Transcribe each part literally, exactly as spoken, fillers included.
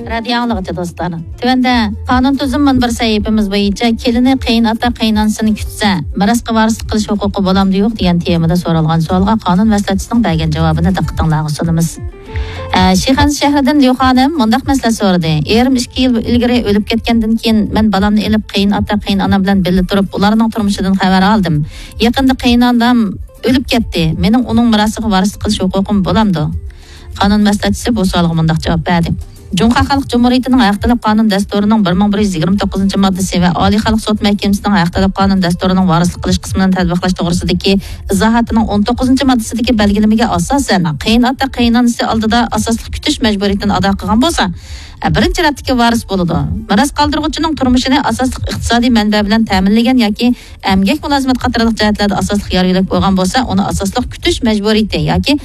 رادىيو ئاڭلىغۇچى دوستلار، تۆۋەندە قانۇن تۈزۈم مۇنبىرى سەھىپىمىز بويىچە كېلىنى قېيىنئاتا قېيىنئانىسىنى كۈتسە، مىراسقا ۋارىسلىق قىلىش ھوقۇقى بولامدۇ يوق دېگەن تېمىدا سورالغان سوئالغا قانۇن مەسلىھەتچىسىنىڭ بەرگەن جاۋابىنى دىققىتىڭلارغا سۇنىمىز. ئە، شىخەنزە شەھىرىدىن ليۇ خانىم مۇنداق مەسلىھەت سورىدى: «ئېرىم ئىككى يىل ئىلگىرى ئۆلۈپ كەتكەندىن كېيىن، مەن بالامنى ئېلىپ قېيىنئاتا قېيىنئانام بىلەن بىللە تۇرۇپ، ئۇلارنىڭ تۇرمۇشىدىن خەۋەر ئالدىم. يېقىندا قېيىنئانام ئۆلۈپ كەتتى. مېنىڭ ئۇنىڭ مىراسىغا ۋارىسلىق قىلىش ھوقۇقۇم بولامدۇ؟» قانۇن مەسلىھەتچىسى بۇ سوئالغا مۇنداق جاۋاب بەردى: «جۇڭخۇا خەلق جۇمھۇرىيىتىنىڭ ھەق تەلەپ قانۇن دەستۇرىنىڭ بىر مىڭ بىر يۈز يىگىرمە توققۇزىنچى ماددىسى ۋە ئالىي خەلق سوت مەھكىمىسىنىڭ ھەق تەلەپ قانۇن دەستۇرىنىڭ ۋارىسلىق قىلىش قىسمىنى تەتبىقلاش توغرىسىدىكى ئىزاھاتىنىڭ ئون توققۇزىنچى ماددىسىدىكى بەلگىلىمىگە ئاساسەن، قېيىنئاتا قېيىنئانىسى ئالدىدا ئاساسلىق كۈتۈش مەجبۇرىيىتىنى ئادا قىلغان بولسا، بىرىنچى رەتتىكى ۋارىس بولىدۇ. مىراس قالدۇرغۇچىنىڭ تۇرمۇشىنى ئاساسلىق ئىقتىسادىي مەنبە بىلەن تەمىنلىگەن ياكى ئەمگەك مۇلازىمەت قاتارلىق جەھەتلەردە ئاساسلىق يار يۆلەك بولغان بولسا، ئۇنى ئاساسلىق كۈتۈش مەجبۇرىيىتى ياكى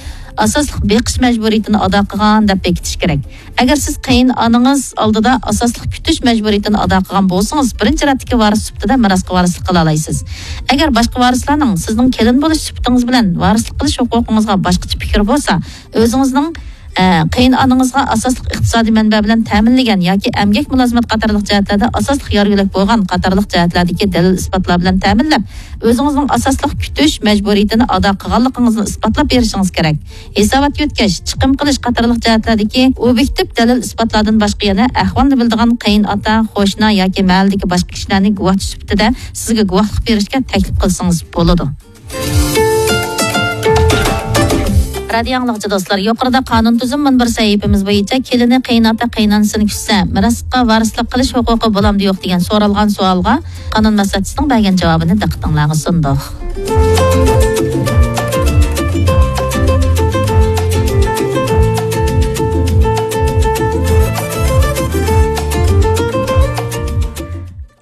ئاساسلىق بېقىش مەجبۇرىيىتىنى ئادا قىلغان دەپ بېكىتىش كېرەك. ئەگەر سىز قېيىنئانىڭىز ئالدىدا ئاساسلىق كۈتۈش مەجبۇرىيىتىنى ئادا قىلغان بولسىڭىز، بىرىنچى رەتتىكى ۋارىس سۈپىتىدە مىراسقا ۋارىسلىق قىلالايسىز. ئەگەر باشقا ۋارىسلارنىڭ سىزنىڭ كېلىن بولۇش سۈپىتىڭىز بىلەن ۋارىسلىق قىلىش ھوقۇقىڭىزغا باشقىچە پىكرى بولسا، ئۆزىڭىزنىڭ، ئە، قېيىنئانىڭىزغا ئاساسلىق ئىقتىسادىي مەنبە بىلەن تەمىنلىگەن ياكى ئەمگەك مۇلازىمەت قاتارلىق جەھەتلەردە ئاساسلىق يار يۆلەك بولغان قاتارلىق جەھەتلەردىكى دەلىل ئىسپاتلار بىلەن تەمىنلەپ، ئۆزىڭىزنىڭ ئاساسلىق كۈتۈش مەجبۇرىيىتىنى ئادا قىلغانلىقىڭىزنى ئىسپاتلاپ بېرىشىڭىز كېرەك. ھېسابات يۆتكەش، چىقىم قىلىش قاتارلىق جەھەتلەردىكى ئوبيېكتىپ دەلىل ئىسپاتلاردىن باشقا يەنە ئەھۋالنى بىلىدىغان قېيىنئاتا، قوشنا ياكى مەھەللىدىكى باشقا كىشىلەرنى گۇۋاھچى سۈپىتىدە سىزگە گۇۋاھلىق بېرىشكە تەكلىپ قىلسىڭىز بولىدۇ. رادىيو ئاڭلىغۇچى دوستلار، يۇقىرىدا قانۇن تۈزۈم مۇنبىرى سەھىپىمىز بويىچە كېلىنى قېيىنئاتا قېيىنئانىسىنى كۈتسە، مىراسقا ۋارىسلىق قىلىش ھوقۇقى بولامدۇ يوق دېگەن سورالغان سوئالغا قانۇن مەسلىھەتچىسىنىڭ بەرگەن جاۋابىنى دىققىتىڭلارغا سۇندۇق.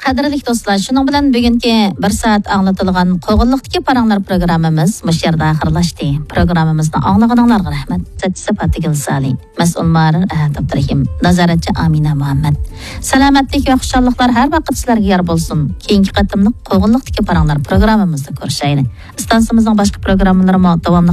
قەدىرلىك دوستلار، شۇنىڭ بىلەن بۈگۈنكى بىر سائەت ئاڭلىتىلغان قوغۇنلۇقتىكى پاراڭلار پروگراممىمىز مۇشۇ يەردە ئاخىرلاشتى. پروگراممىمىزنى ئاڭلىغىنىڭلارغا رەھمەت. سەتچىسى پاتىگۈل سالى، مەسئۇل مۇھەررىر ئەھەت ئابدۇرېھىم، نازارەتچى ئامىنە مۇھەممەد. سالامەتلىك ۋە خۇشاللىقلار ھەر ۋاقىت سىلەرگە يار بولسۇن. كېيىنكى قېتىملىق قوغۇنلۇقتىكى پاراڭلار پروگراممىمىزدا كۆرۈشەيلى. ئىستانسىمىزنىڭ باشقا پروگراممىلىرىمۇ داۋاملىق